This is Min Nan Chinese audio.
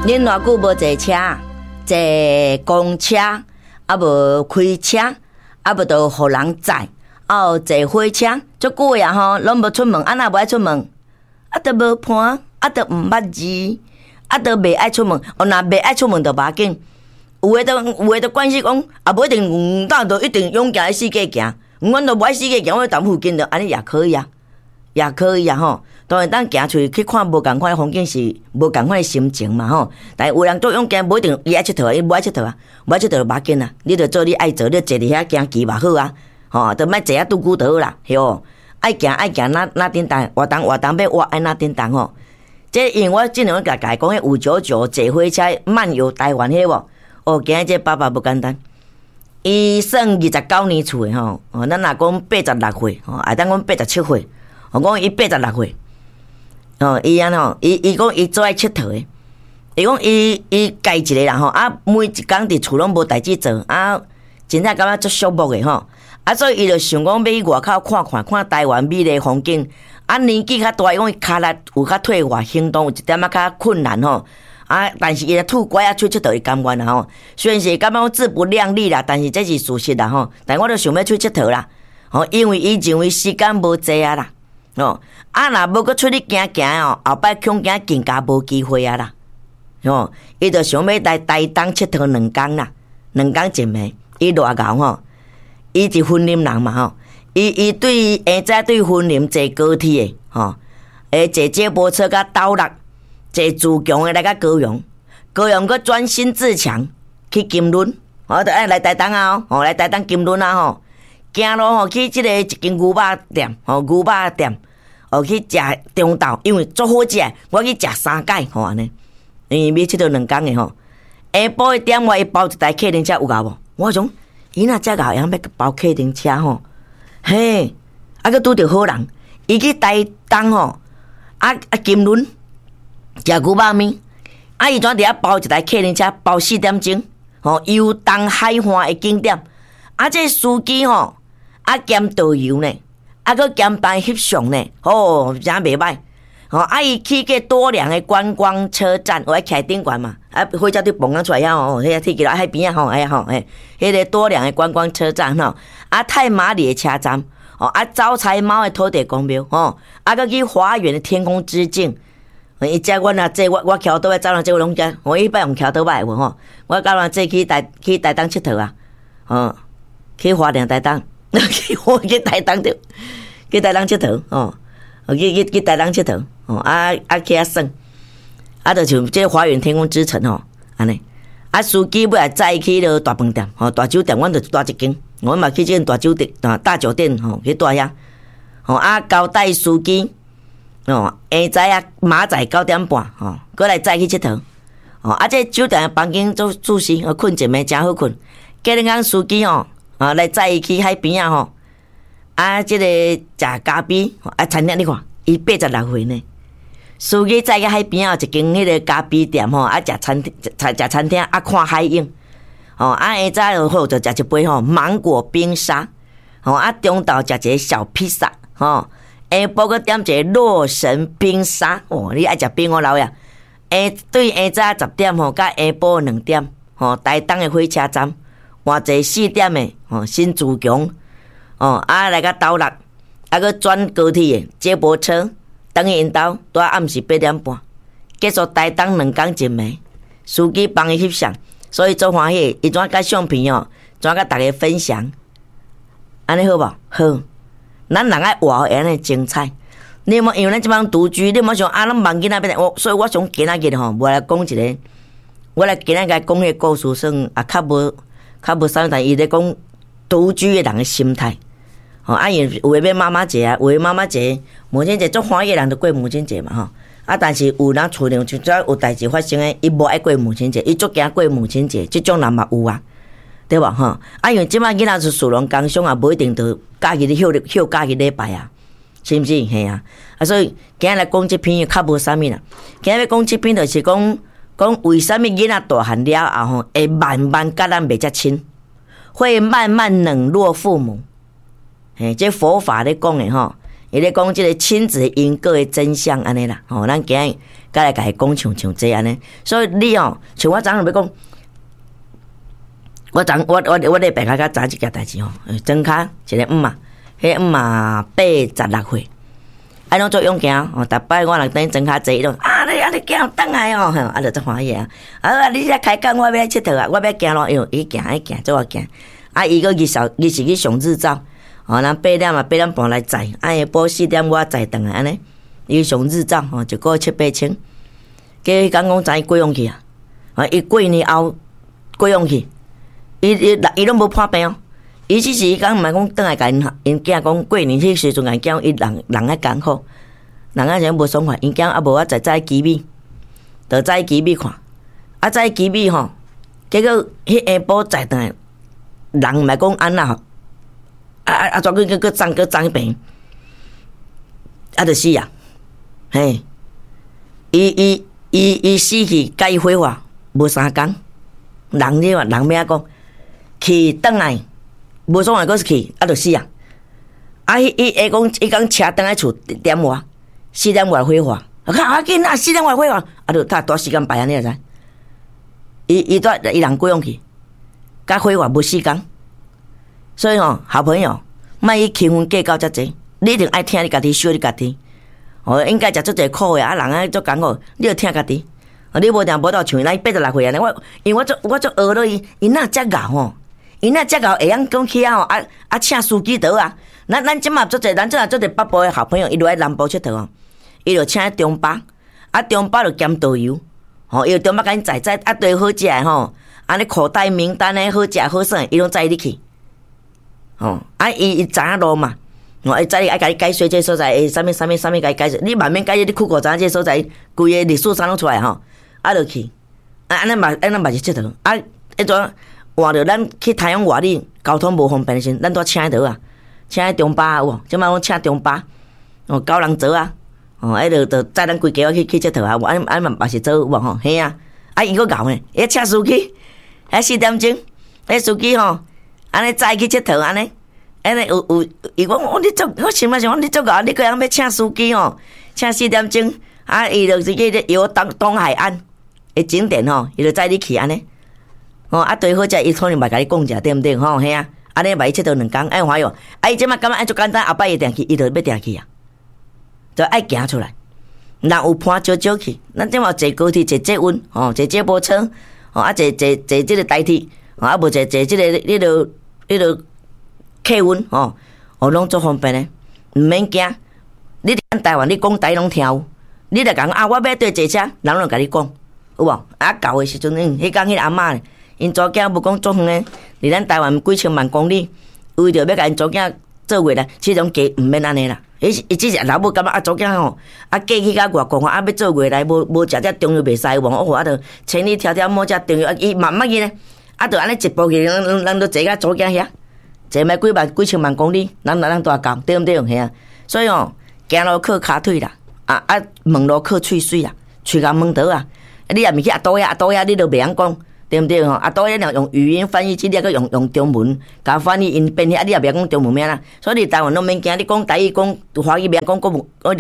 恁偌久無坐車，坐公車，啊無開車，啊無就予人載，啊有坐火車，足久的啊吼，攏無出門，啊若無愛出門，啊就無伴，啊就毋捌字，啊就袂愛出門。哦，若袂愛出門就無要緊。有的就關係講，啊無一定，當就一定勇行四界行。阮都無愛四界行，我踮附近就按呢也可以啊，也可以啊吼。當然，當行出去去看無仝款的風景是無仝款的心情嘛吼。但是有人足勇敢，無一定伊愛𨑨迌，伊無愛𨑨迌啊，無愛𨑨迌就無要緊啊。你就做你愛做，你坐佇遐行棋嘛好啊，吼，就莫坐遐拄久就好啦，對無？愛行愛行，哪哪叮當活動活動欲活愛哪叮當吼。這因為我之前我共共講，彼599坐火車漫遊台灣彼無？哦，今日這爸爸無簡單，伊算29年厝的吼，哦，咱若講86歲，吼，會當講87歲，我講伊八十六歲，哦，伊按怎，伊講伊做愛𨑨迌的，伊講伊伊家一個人吼，啊，每一工佇厝攏無代誌做，啊，真正感覺足寂寞的吼，啊，所以伊就想講欲去外口看看，看台灣美麗風景。啊，年紀較大，伊講伊跤力有較退化，行動有一點仔較困難吼。啊！但是伊若拄拐仔出𨑨迌，伊甘願啦吼。雖然是感覺講自不量力啦，但是這是事實啦吼。但我就想欲出𨑨迌啦，吼，因為伊認為時間無濟啊啦，吼。啊，若無閣出去行行哦，後擺恐驚更加無機會啊啦，吼。伊就想欲來台東𨑨迌兩工啦，兩工一暝。伊偌𠢕吼，伊是雲林人嘛吼。伊對下早對雲林坐高鐵的吼，會坐接駁車甲斗六。坐自強的來到高雄，高雄閣轉新自強去金崙，哦，就愛來台東啊，吼，來台東金崙啊，吼，行路吼去這個一間牛肉店，吼，牛肉店，哦，去食中晝，因為足好食，我去食三擺，吼按呢，因為欲𨑨迌兩工的吼，下晡一點外伊包一台客運車有𠢕無？我想，伊若遮𠢕會曉欲包客運車吼，嘿，啊，閣拄著好人，伊去台東吼，啊啊金崙。食牛肉麵，啊！伊怎佇遐包一台客運車，包四點鐘，吼遊東海岸的景點。啊，這司機吼，啊兼導遊呢，啊閣兼幫翕相呢，吼，真袂䆀。吼，啊伊去過多良的觀光車站，有愛徛頂懸嘛？啊，火車佇蹦仔出來遐吼，彼個鐵橋海邊仔吼，哎呀吼，嘿，彼個多良的觀光車站吼，啊太麻里的車站，吼，啊招財貓的土地公廟，吼，啊閣去花園的天空之鏡。伊載阮啊坐，我我騎歐多擺走人，這我攏知。我彼擺用騎歐多擺無吼，我佮人坐去台東𨑨迌啊，吼，去花蓮台東，去我去台東著，去台東𨑨迌吼，去去去台東𨑨迌吼，啊啊去遐耍，啊就像這華園天空之城吼，按呢，啊司機尾來載伊去彼个大飯店吼，大酒店，阮就蹛一間，阮嘛去這間大酒店大酒店吼去蹛遐，吼啊交代司機。哦，下早啊，明仔載9點半，吼，閣來載去𨑨迌。哦，啊，這酒店的房間做舒適，睏一暝誠好睏。隔日工司機吼，啊，來載伊去海邊仔吼，啊，這個食咖啡，啊，餐廳你看，伊八十六歲呢。司機載去海邊仔一間彼個咖啡店吼，啊，食餐廳，食食餐廳，啊，看海景。吼，啊，下早就好就食一杯吼芒果冰沙，吼，啊，中晝食一個小披薩，吼。下晡閣點一個洛神冰沙，哦，你愛食冰我老呀。下對下早10點吼，佮下晡2點吼，台東的火車站換坐四點的吼新自強，哦啊來到斗六，啊閣轉高鐵的接駁車，轉去𪜶兜，拄暗時8點半，結束台東兩工一暝，司機幫伊翕相，所以足歡喜，伊怎佮相片哦，怎佮逐家分享，按呢好無？好。咱人愛活會按呢精彩，你有無？因為咱這擺獨居，你莫想啊，攏夢囡仔欲來，我所以我想今仔日吼，無來講一個，我來今仔日講彼個故事，算也較無啥物，但伊咧講獨居的人的心態，吼啊，因為有的欲媽媽節啊，有的媽媽節、母親節足歡喜的人就過母親節嘛吼，啊，但是有人厝裡就只有代誌發生的，伊無愛過母親節，伊足驚過母親節，這種人嘛有啊。對無吼？啊，因為這擺囡仔是士農工商，也無一定就假日休休假日禮拜啊，是毋是？嘿啊！啊，所以今日來講這篇較無啥物啦。今日欲講這篇，就是講講為啥物囡仔大漢了後吼，會慢慢佮咱袂遮親，會慢慢冷落父母。嘿，這佛法咧講的吼，伊咧講這個親子因果的真相按呢啦，吼，咱今日閣來共伊講像像這按呢，所以你哦，像我昨昏欲講，我昨我我我禮拜較較早一件代誌吼，莊跤一個姆媽，彼個姆媽86歲，啊攏足勇健哦，逐擺我若佇莊跤坐，伊攏啊你啊你行轉來哦，啊就足歡喜啊，啊你遮開講我欲𨑨迌啊，我欲行路，伊行伊行足會行，啊伊閣日時日時去上日照。哦，咱8點啊，8點半來載，啊下晡4點我載轉來按呢。伊上日照吼，一個月七八千，結果講講知伊過往去啊，啊伊過年後過往去，伊伊伊攏無破病哦，伊只是伊講毋係講轉來共𪜶𪜶囝講過年彼時陣共講伊人人較艱苦，人較啥無爽快，𪜶囝啊無我載載機米，就載機米看，啊載機米吼，結果彼下晡載轉來，人毋係講按怎吼。啊啊啊！怎閣閣閣送閣送去病，啊，就死啊！嘿，伊伊伊伊死去，共伊火化無3工，人你話人欲按怎講？去轉來無爽快，閣是去，啊，就死啊！啊，伊伊會講伊講車轉來厝點外，4點外火化，較較緊啊！四點外火化，啊，就搭多時間排按呢會知？伊伊蹛伊人過往去，共火化無4工。所以吼，好朋友，莫去輕分計較遮濟，你一定愛疼你家己，惜你家己。哦，應該食足濟苦的，啊，人啊足艱苦，你著疼家己。你無定無鬥像伊86歲按呢，我因為我足我足學落伊，伊哪遮𠢕吼？伊哪遮𠢕會曉講起啊吼？啊啊，請司機倒啊！咱咱這馬足濟，咱這馬足濟北部的好朋友，伊落來南部𨑨迌吼，伊就請中巴，啊中巴就兼導遊，吼，伊就中巴共𪜶載載啊，對好食的吼，按呢口袋名單的好食好耍，伊攏載你去。吼，啊，伊伊知影路嘛，吼，伊知伊愛共你解說這所在，會啥物啥物啥物共伊解說，你慢慢解說，你酷狗知影這所在，規个歷史啥攏出來吼，啊，就去，啊，按呢嘛，按呢嘛是𨑨迌，啊，彼陣換著咱去台陽外里，交通無方便的時陣，咱拄請彼倒啊，請彼中巴有無？這擺攏請中巴，哦，九人座啊，哦，彼就就載咱規家去去𨑨迌啊，無按按嘛嘛是做有無吼？嘿啊，啊伊閣𠢕呢，伊請司機，彼4點鐘，彼司機吼。按呢載去𨑨迌按呢，按呢有有，伊講我你足，我想嘛想講你足𠢕，你閣會曉欲請司機吼，請4點鐘，啊，伊就是去咧遊東東海岸的景點吼，伊就載你去按呢，吼，啊對好食，伊可能嘛共你講者對毋對吼？嘿啊，按呢嘛伊𨑨迌2工，愛歡喜無？啊，伊這擺感覺按足簡單，後擺伊定去，伊就欲定去啊，就愛行出來，人有伴少少去，咱這擺坐高鐵、坐捷運，吼，坐接駁車，吼，啊坐坐坐這個台鐵，啊無坐坐這個彼個。彼个客運吼，哦，攏足方便的，毋免驚。你佇台灣，你講台語攏聽有。你若講啊，我欲對坐車，人攏共你講，有無？啊，舊的時陣，彼工彼个阿嬤，𪜶查某囝無講足遠的，佇咱台灣幾千萬公里，為著欲共𪜶查某囝做月來，這種家毋免按呢啦。伊是伊只是老母感覺啊，查某囝吼，啊嫁去到外國吼，啊欲做月來無無食這中藥袂使無，哦，啊著千里迢迢摸食中藥，啊伊慢慢去呢。啊，就按呢一步去，人人人都坐到查某囝遐，坐欲幾萬幾千萬公里，人人大到，對毋對？嘿啊，所以吼，行路靠跤腿啦，啊啊，問路靠喙水啦，喙共問倒啊。你若毋去阿多遐，阿多遐你都袂曉講，對毋對？吼，阿多遐若用語音翻譯機，你閣用用中文共翻譯𪜶變遐，你也袂曉講中文咩啦。所以你台灣攏免驚，你講台語、講華語袂曉講國語，我著。